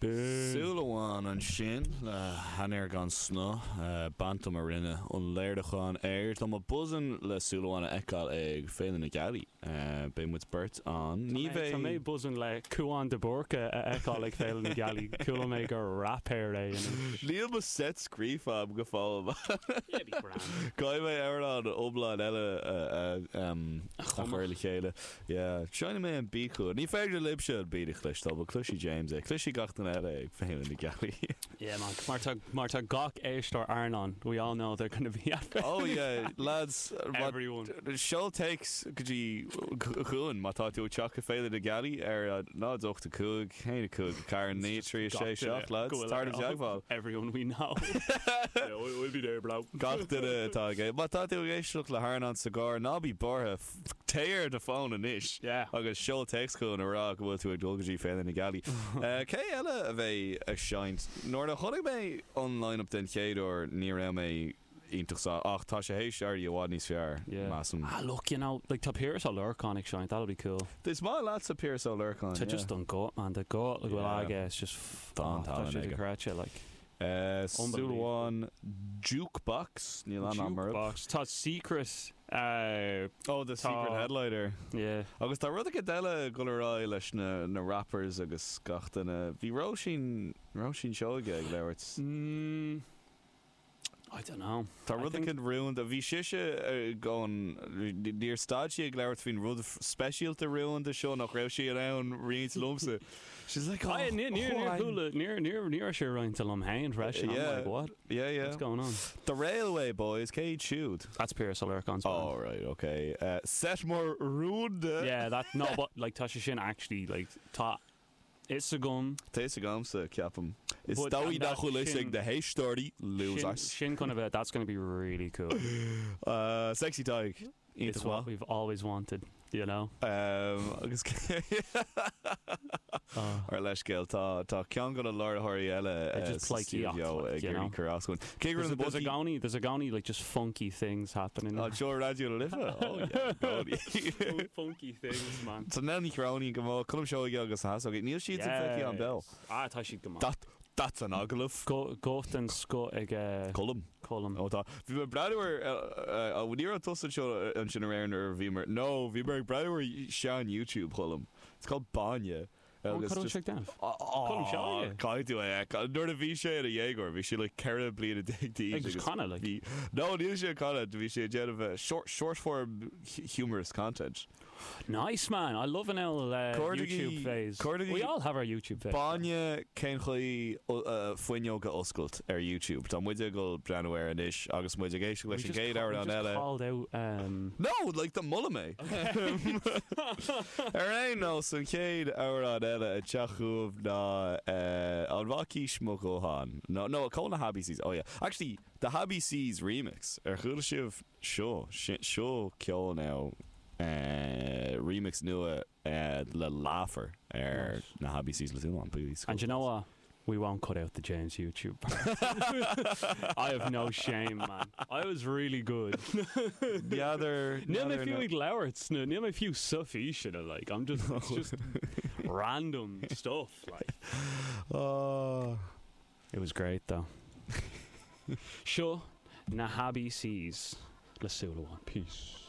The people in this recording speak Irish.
Súil amháin ansin le hAinéar Gan Snáth, Bantum a rinne an léiriúchán air. Tá mé buzzing le Súil Amháin a fheiceáil ag Féile na Gealaí. Beidh muid beirt ann. Ní bheidh. Tá mé buzzing le Cúán de Búrca a fheiceáil ag Féile na Gealaí. Chuala mé gur rapper é anois. Níl mo set scríofa agam go fóill. Yeah, be grand. Caithfidh mé amhrán iomlán eile a chur le chéile. Yeah, seinnfidh mé an beat chugat. Ní féidir libhse an beat a chloisteáil, but cloisfidh James é. Cloisfidh gach duine eile ag Féile na Gealaí. Yeah man, mar tá, mar tá gach éisteoir Airneán, we all know they're gonna be at Féile Oh yeah, lads, Everyone. Seol téacs go dtí chugainn má tá tú ag teacht go Féile na Gealaí ar 0 8 5 1 5 4 9 3 6 7, lads, tar i dteagmháil. Everyone we know. Yeah, we'll be there, bro. Gach duine atá ag, má tá tú ag éisteacht le hAirneán sa gcarr, ná bí buartha. Téigh ar do fón anois agus seol téacs chugainn a rá go bhfuil tú ag dul go dtí Féile na Gealaí. Cé eile a bheidh ag seinnt? Nuair a chonaic mé an line-up den chéad uair ní raibh mé iontach sásta ach tá sé théis éirí i bhfad níos fearr, measaim. Ah look, you know, like tá Piaras Ó Lorcáin ag seinnt, that'll be cool. Is maith leatsa Piaras Ó Lorcáin, yeah. Tá just an guth, man, the guth go bhfuil aige, it's just, Tá an tá tallann sé aige. dochreidte, like. Súil amháin Jukebox, níl aithne agam orthu. Jukebox, tá Secret. Oh, the Secret Headliner. Yeah. Agus tá rud éicint eile ag dul ar aghaidh leis na na rappers agus gach duine. Bhí Róisín, Róisín Seoige ag labhairt. Mm, I don't know. Tá rud éicint rúnda. Bhí sise ag an, níor stad sí ag labhairt faoin rud speisialta rúnda seo nach raibh sí in ann roinnt liomsa. She's like, oh, Níor, níor, níor chuala, níor, níor, ní raibh sé roinnte liom féin freisin. I'm Yeah. like, what? Yeah, yeah. What's going on? The Railway Boys, cé hiad siúd? That's Piaras Ó Lorcáin's band. Oh, right, okay. Set mór rúnda. Yeah, that, no, but, like, tá sé sin actually, like, tá fhios agam. Tá fhios agamsa, ceapaim. Is But, dóigh and nach that bhfuil fhios ag sin- na héisteoirí, Sin, losers. sin chun a bheith, that's gonna be really cool. Sexy Tadhg. It's Iontach what maith. we've always wanted, you know? Agus ár leithscéal, tá tá ceann de na láithreoirí eile Just sa pleidhcíocht, stiúideo like, ag you know? iarraidh cur as chugainn. Cé go raibh na There's a boltaí gcónaí, there's i gcónaí like just funky things happening. Anseo ar Raidió na Life? Oh yeah, i gcónaí. Funky things, man. Tá Nell Ní Chróinín go maith, Colm Seoige agus na hEasógaí. Níl siad san feicthe an beo. Ah, tá siad go maith. That, that's an agallamh. Guth den scoth ag Colm. Colm. Ó tá. Bhí mé ag breathnú ar, ní raibh tusa anseo ansin aréir nuair a bhíomar, no, bhí mé ag breathnú ar sean YouTube Choilm. It's called Bainne. Ó, cad a bhfuil sé ag déanamh? Colm Seoige? Caithfidh tú é a fheiceáil. Nuair a bhí sé ina dhéagóir, bhí sé like 14 bliana d'aois. Ag canadh, like? Bhí, no, níl sé ag canadh, bhí sé ag déanamh short, short form humorous content. Nice man, I love an old YouTube phase. We all have our YouTube phase. Bainne cén chaoi fuinneog a oscailt ar YouTube. Tá muid ag dul breathnú air anois agus muid ag éisteacht leis an gcéad amhrán eile. Called out. No, like do molaim é. Ar aon nós, an chéad amhrán eile ag teacht chugaibh ná An bhfacaís mo ghuthán? No, no, call na Habbie Sees. Oh yeah. Actually, the Habbie Sees remix. Ar chuala sibh? Seo, seo ceol now, remix nua le Laugher ar na Habbie Sees le Súil Amháin. And you know what? We won't cut out the James YouTube part. I have no shame, man. I was really good. N'fheadar, Níl mé fiú ag labhairt sna, níl mé fiú sa físeán, like, I'm just, it's just random stuff, like. Oh. It was great though. Seo na Habbie Sees le Súil Amháin. Peace.